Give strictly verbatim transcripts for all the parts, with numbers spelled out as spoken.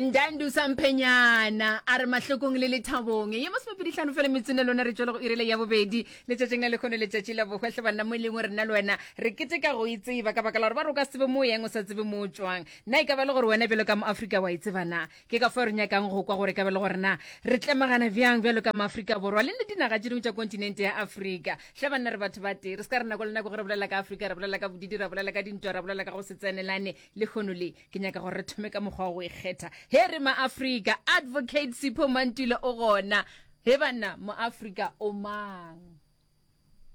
Ndandu Samphenyana a re mahlokong le lethabong. Ye masomepedi hlano fela metsone lona re tšwele go irile ya bobedi letšatšing la lekgono letšatši la bohwehle banna mo e leng gore nna le wena re keteka go itseba ka baka la gore ba re o ka se tsebe mo o yang o sa tsebe mo o tšwang. Na e ka ba le gore wena bjalo ka moafrika wa e tseba na? Ke ka fao re nyakang go kwa gore e ka ba le gore na re tlemagana bjang bjalo ka maafrika Borwa le le dinaga tše dingwe tša kontinente ya Afrika. Hle banna re batho ba tee re se ka re nako le nako ge re bolela ka Afrika re bolela ka bodidi ra bolela ka dintwa ra bolela ka go se tsenelane lehono le ke nyaka gore re thome ka mokgwa wa go ikgetha he re maafrika. Advocate Sipho Mantula o gona. He banna, moafrika o mang?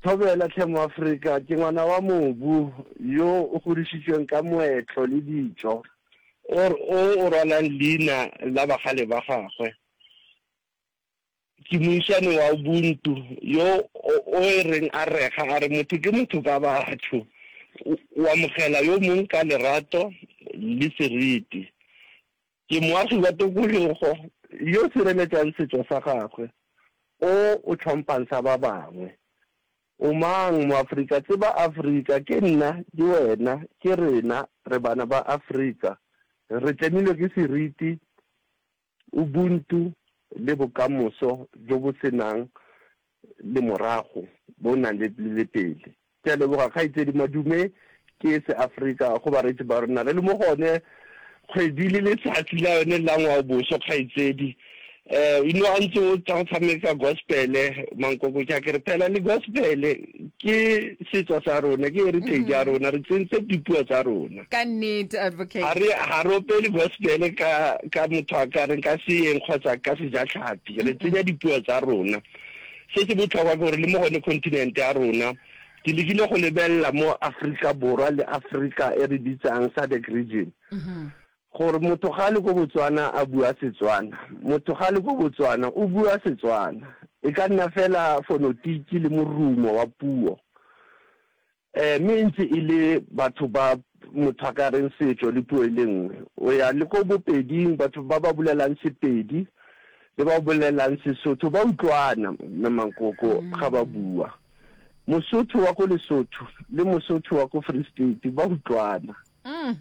Thobela hle moafrika, ke ngwana wa mobu yo o godišitšweng ka moetlo le ditšo, o o rwalang leina la bagale ba gagwe. Ke moišane wa Ubuntu yo o e reng a rega a re motho ke motho ka batho, o amogela yo mong ka lerato le seriti. Ke moagi wa tokologo yo sireletšang setšo sa gagwe, o o hlomphang sa ba bangwe. O mang, Moafrika? Tseba Afrika, ke nna, ke wena, ke rena, re bana ba Afrika. Re tlemilwe ke seriti, Ubuntu le bokamoso bjo bo se nang lemorago bo nang le le pele. Ke a leboga kgaitsedi Madume ke seAfrika go bareetsi ba rena. Re le mo go one kgwedi le letsatsi la yone la ngwaoboso kgaitsedi. Um you know a ntse o tla go tshameka gospele mankoko ke a ke re phela le gospele ke setso sa rona ke heritage ya rona re tsentse dipuo tsa rona. Ka nnete advocate. Ga re ga re opele gospele ka ka motho a ka reng ka seeng kgotsa ka sejatlhapi re tsenya dipuo tsa rona. Se se botlhokwa ke gore le mo gone continent ya rona ke lekile go lebelela mo Afrika Borwa le Afrika e re bitsang SADC region gore motho ga le ko Botswana a bua Setswana motho ga le ko Botswana o bua Setswana e ka nna fela fonotiki le morumo wa puo um mme e ntse e le batho ba motho a ka reng setso le puo e le nngwe o ya le ko bopeding batho ba ba bolelang Sepedi le ba bolelang Sesotho ba utlwana mme mankoko ga ba bua Mosotho wa ko Lesotho le Mosotho wa ko Free State ba utlwana Mm.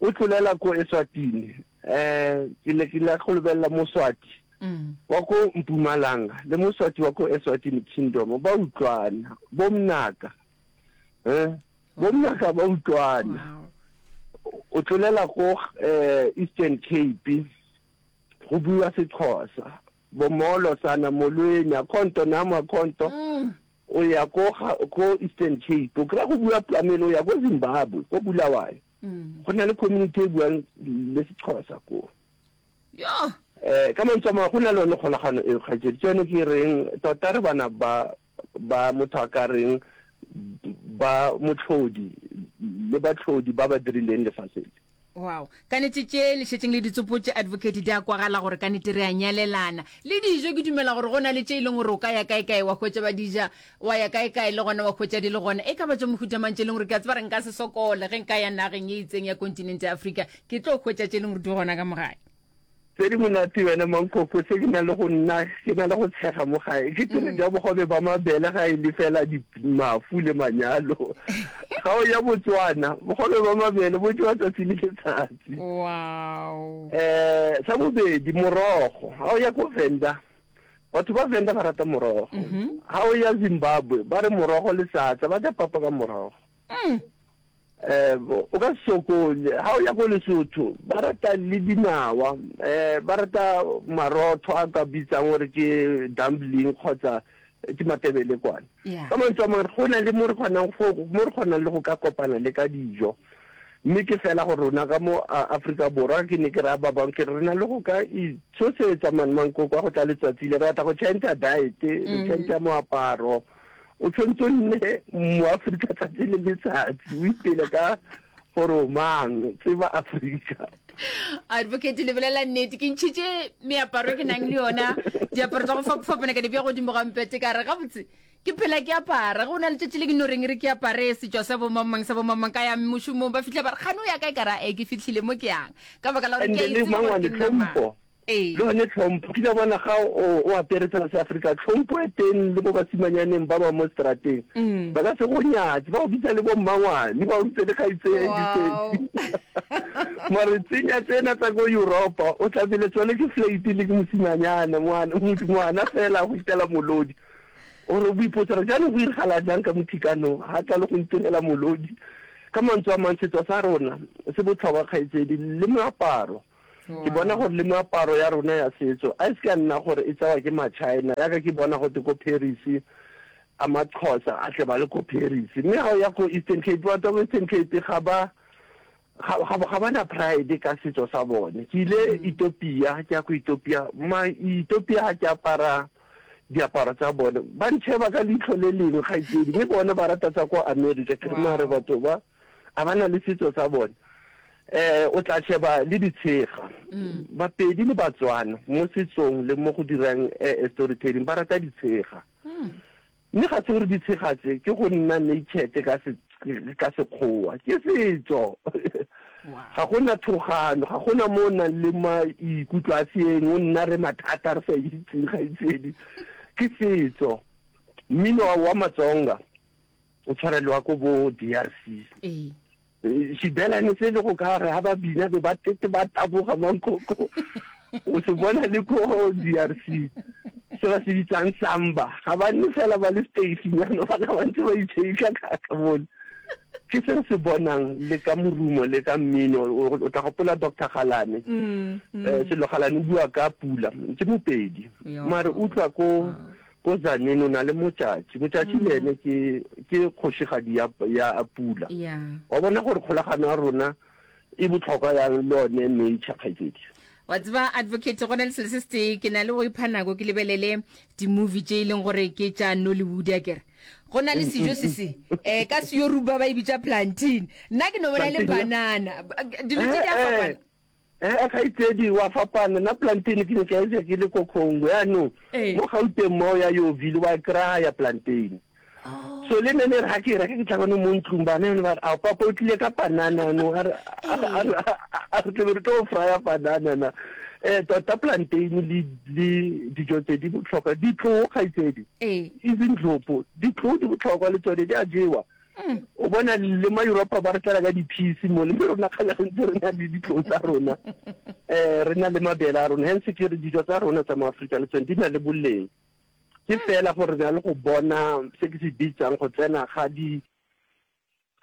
o tlolela ko Eswatini um ke le ke la go lebelela Moswati Mm. wa ko Mpumalanga le Moswati wa ko Eswatini Kingdom ba utlwana bo mnaka eh bo mnaka ba utlwana Wow. o tlolela ko eh Eastern Cape go bua Sexhosa bo molo sana molweni akhonto namo akhonto Mm. o ya ko ga- ko Eastern Cape o kry-a go bua Plamelo o ya ko Zimbabwe ko Bulawayo Mm. go na le community e buang le Sexhosa ko Yo. eh ka mantswe a mangwe go na le yone kgolagano e kgaitsedi ke yone ke reng tota re bana ba ba motho a ka reng ba motlhodi le batlhodi ba ba dirileng lefatshe le Wow. Ka nete tše le šetšeng le ditsopotše advocate di a kwagala gore ka nete re a nyalelana. Le dijo ke dumela gore go na le tše e leng gore o ka ya kae kae wa hwetša ba di ja, wa ya kae kae le gona wa hwetša di le gona. E ka ba tša mohuta mang tše e leng gore ke a tseba re nka se sokole ge nka ya nageng e itseng ya kontinente ya Afrika ke tlo hwetša tše e leng gore di gona ka mo gae. Tse di monate wena mankoko se ke na le go nna ke na le go tshega mo gae ke tsere ja bogobe ba mabele ga e le fela di mafu le manyalo ga o ya Botswana bogobe ba mabele bo jewa tsatsi le letsatsi. Wow. Eh sa bobedi morogo ga o ya ko Venda batho ba Venda ba rata morogo ga o ya Zimbabwe ba re morogo le satsa ba ja papa ka morogo. Mm. Eh o ka se sokole ga o ya ko Lesotho ba rata le dinawa eh ba rata marotho a ka bitsang gore ke dumpling kgotsa ke matebele kwana. Yeah. Ka mantswe a mangwe go na le mo re kgonang go mo re kgonang le go ka kopana le ka dijo mme ke fela gore rona ka mo Afrika Borwa ke ne ke raya ba bangwe ke re re na le go ka itshosetsa man mankoko a go tla letsatsi le re batla go change diet re change moaparo o tshwanetse o nne moAfrika tsatsi le letsatsi o ipele ka gore o mang tseba Afrika. Advocate le bolela nnete ke ntšhitše meaparo e ke nang le yona diaparo tsa go fapafapana ka di bea godimo ga mpete ka re gabotse ke phela ke apara go na letšatši le ke no reng re ke apare setšo sa bomangmang sa bomangmang ka ya mošomong ba fitlha ba re kgane o ya kae ka ra e ke fitlhile mo ke yang ka baka la gore And ke a le itse gore mangwane ke nna mang. tlhompho Ee. le yone tlhompho ke a bona ga o o apere tsela se Afrika tlhompho e teng le bo basimanyaneng ba ba mo strateng ba ka se go nyatse ba go bitsa le bo mmangwane ba go bitse le kgaitsedi Wow. Mare tsenya tsena tsa ko Europa, o tla bele tsone ke flate le ke mosimanyana, ngwana, ngwana fela go itela molodi. O re o ipotsa gore jaanong go iragala jang ka mothikanong, ga tla le go ntirela molodi. Ka mantswe a mang, setso sa rona se botlhokwa, kgaitsedi, le moaparo. Ke bona gore le meaparo ya rona ya setso a e se ka nna gore e tsewa ke ma-China, yaka ke bona gote ko Paris a maXhosa a tle ba le ko Paris, mme ga o ya ko Eastern Cape, batho ba ko Eastern Cape ga ba ga ga ba na pride ka setso sa bone. Ke ile Ethiopia, ke ya ko Ethiopia, ma Ethiopia ga ke apara diaparo tsa bone ba ntšheba ka leitlho le lengwe, kgaitsedi, mme bone ba rata tsa ko America. Ke re mare batho ba a ba na le setso sa bone. eh o tla sheba le ditshega, Bapedi le Batswana mo setsong le mo go dirang eh, storytelling ba rata ditshega, mme ga se gore ditshega tse ke go nna naked ka se ka sekgowa, ke setso. Ga gona thogano, ga gona mo o nang le maikutlo a seeng, o nna re mathata re sa itseng, gaitsedi, ke setso. Mmino wa Matsonga o tshwarelwa ko bo D R C. Ee xibelane se le go ka re ga ba bina be ba tete ba taboga mankoko, o se bona le ko D R C, se ba se bitsang samba, ga ba nne fela ba le stasinyana, bana ba ntse ba itšheika ka bone. Ke se re se bonang le ka morumo le ka mmino. O tla gopola Doctor Galane, Mm, mm. um Sello Galane o bua ka pula, ke Mopedi, mare utlwa ko ko Tzaneen o na le Motšatši. Motšatši le ene ke ke kgošigadi ya ya pula. Ya wa bona gore kgolagano ya rona e botlhokwa yang le yone nature, kgaitsedi. Wa tseba, advocate, go na le selo se se tee ke na le go ipha nako ke lebelele di-movie tše e leng gore ke tša Nollywood. A kere go na le sejo se se um ka Seyoruba ba e bitša plantain, nna ke no bona e le Plantain, banana. Dilo tse di a fapana. Ee, kgaitsedi, wa fapana. Nna plantain ke ne ke e ja ke le ko Congo, yaanong Ee. mo Gauteng mo ya Yeoville wa kry-a plantain. So le nne re ga ke e reka, ke tla bone mo ntlong bana yone ba re, "A papa o tlile ka panana no?" A re a re a re tlebe re tlo frya banana na. um tota plantain le le dijo tse di botlhokwa, ditloo, kgaitsedi, ee izindlopo, ditloo di botlhokwa le tsone, di a jewa. O bona le ma Europa ba re tlela ka di-peas mo le, mme rona kgale re ntse re na le ditloo tsa rona, um re na le mabele a rona. Hence ke re dijo tsa rona tsa mo Aforika le tsone di na le boleng, ke fela gore re na le go bona se ke se bitsang go tsena ga di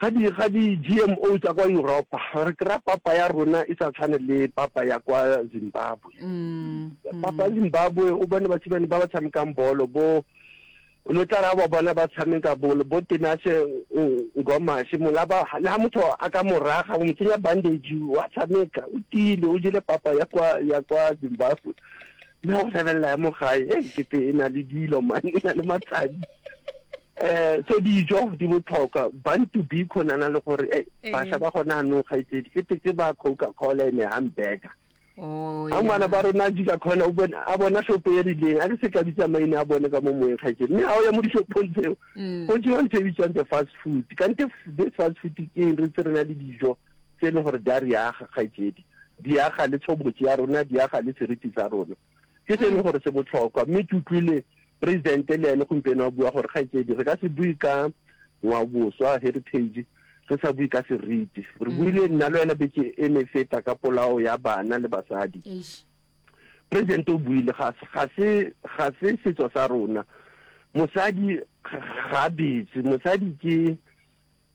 ga di ga di G M O tsa kwa Europa. Re kry-a papa ya rona e sa tshwane le papa ya kwa Zimbabwe. Mm, Papa ya Zimbabwe, o bone basimane ba ba tshamekang bolo bo, o no tla ra ba bona ba tshameka bolo bo Tinashe Ngomashe mola ba le ha motho a ka moraga o mo tsenya bandage, wa tshameka, o tiile, o jele papa ya kwa ya kwa Zimbabwe. Mme go lebelela ya mo gae e kete e na le dilo man, e na le matsadi. um so dijo di botlhokwa. Bantu Biko nana le gore e bašwa ba gona anong, kgaitsedi, ke ke ba Coca Cola ene hamburger. Oh, a ngwana ba rona a khona o bona a bona shopo e rileng, a ke se ka bitsa maina a bone ka mo moeng, kgaitsedi, mme ga o ya mo dishopong tseo Mm. go jewa ntho e bitswang the fast food. Kante this fast food ke eng? Re ntse re na le dijo tse e leng gore di a re aga, kgaitsedi, di aga le tshobotsi ya rona, di aga le seriti sa rona. Ke se e leng gore se botlhokwa. Mme ke utlwile presidente le ene gompieno a bua gore, kgaitsedi, re ka se bue ka ngwaoboswa, heritage, re sa bue ka seriti. Re buile nna le wena beke e ne feta ka polao ya bana le basadi. Eish. President o buile, ga ga se ga se setso sa rona, mosadi ga a betse, mosadi ke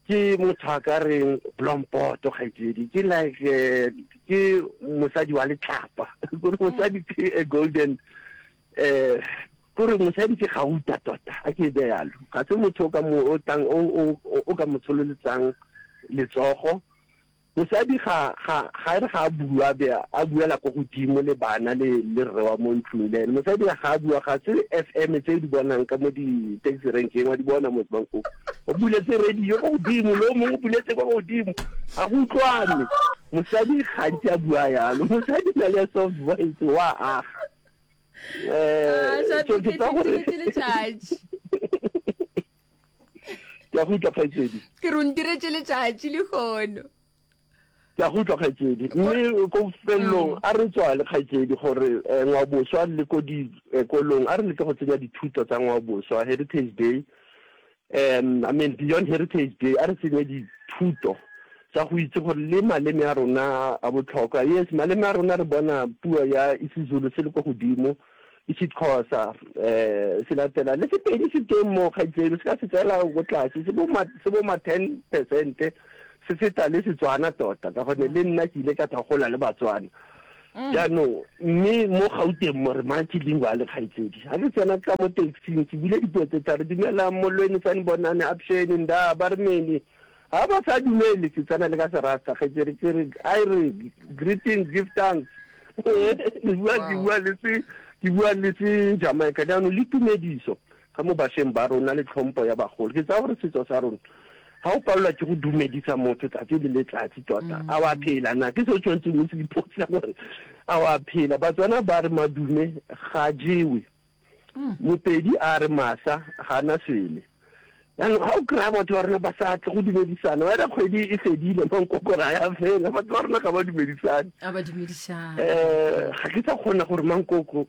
ke motho a ka reng blompoto, kgaitsedi, ke like eh, ke mosadi wa letlapa, kore mosadi ke a golden, eh kore mosadi ke gauta tota, a ke be yalo. Ga se motho o ka mo o tlang o o o ka mo tshololetsang letsogo. Mosadi ga ga ga re ga a bua be a buela ko godimo le bana le le rre wa mo ntlong le ene. Mosadi ga a bua, ga se F M tse di bonang ka mo di-taxi renkeng, wa di bona mo bankong, o buletse radio ko godimo, le o mongwe o buletse ko godimo, ga go utlwane. Mosadi gantsi a bua yalo, mosadi na le soft voice, wa aga. Ah, um so ke tsa gore letšatši. Ke a go utlwa, kgaitsedi. Ke re o ntiretse letšatši lehono. Ke a go utlwa, kgaitsedi. Mme ko felelong a re tswale, kgaitsedi, gore um ngwaoboswa le ko dikolong a re leke go tsenya dithuto tsa ngwaoboswa. Heritage Day, um I mean, beyond Heritage Day, a re tsenye dithuto. sa go itse gore le maleme a rona a botlhokwa. Yes, maleme a rona re bona puo ya isiZulu se le ko godimo, isiXhosa um se latela le Sepedi se teng mo kgaitsedi, se ka se tseela ko tlase, se bo ma se bo ma ten percent, se feta le Setswana tota, ka gonne le nna ke ile ka tla gola le Batswana. Jaanong mme mo Gauteng mo re multilingual kgaitsedi. Ga ke tsena ka mo taxing ke bule dipuo tse tharo, dumelang, molweni, sanibonani, avuxeni, ndaa, ba re meni. Ga ba sa dumele ke tsena le ka Serasta kgaitsedi, ke re I re greeting, give thanks. Ke bua ke bua le se ke bua le se Jamaica. Jaanong le tumediso ka mo bašweng ba rona le tlhompho ya bagolo. Ke tsaya gore setso sa rona ga o palelwa ke go dumedisa motho tsatsi le letsatsi tota, a wa phela na? Ke se o tshwanetseng o se ipotsa gore a wa phela. Batswana ba re madume ga jewe, Mopedi a re masa ga na swele. Jaanong ga o kry-a batho ba rona ba sa tle go dumedisana, wena kgwedi e fedile, mankoko ra ya fela, batho ba rona ga ba dumedisane. A ba dumedisane. um Ga ke sa kgona gore mankoko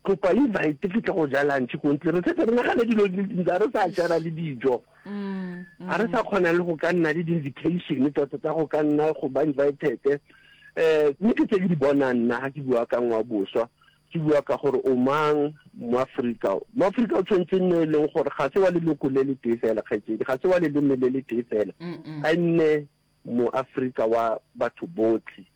kopa invite ke tle go ja lunch ko ntle, re setse re nagane dilo di le dintsi, ga re sa jara le dijo, ga re sa kgona le go ka nna le di-invitation tota tsa go ka nna go ba invited. um Mme ke tse ke di bonang nna ga ke bua ka ngwaoboswa, ke bua ka gore o mang Moaforika. Moaforika o tshwanetse nne e leng gore ga se wa leloko le le tee fela kgaitsedi, ga se wa leleme le le tee fela, a nne Moaforika wa batho botlhe.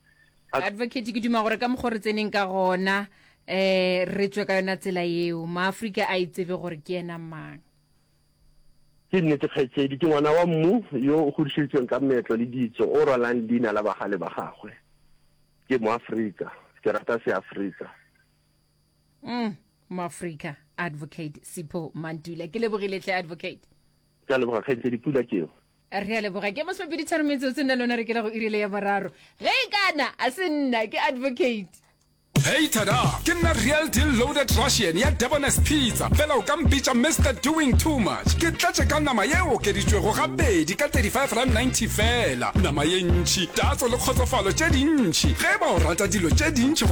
Advocate, ke duma gore ka mokgwa re tseneng ka gona um re tswe ka yona tsela yeo, Maaforika a itsebe gore ke yena mang. Ke nnete kgaitsedi, ke ngwana wa mmu yo o godišeditsweng ka meetlo le ditso, o rwalang leina la bagale ba gagwe. Ke Moaforika, ke rata Seafrika. Mm, Moaforika, Advocate Sipho Mantula, ke lebogile tle Advocate. Ke a leboga kgaitsedi, pula ke eo. Re a leboga. Ke masomepedi tharo metsotso nna lona re kela go irile ya boraro. Ge e kana a se nna ke Advocate. Hey tada! Ke nna Real Deal Loaded Russian ya Debonair's Pizza, fela o ka mpitša Mister Doing Too Much. Ke tletše ka nama ye okeditšwego gabedi ka thirty-five rand ninety fela. Nama ye ntši, tatso le kgotsofalo tše dintši. Ge e ba o rata dilo tše dintši go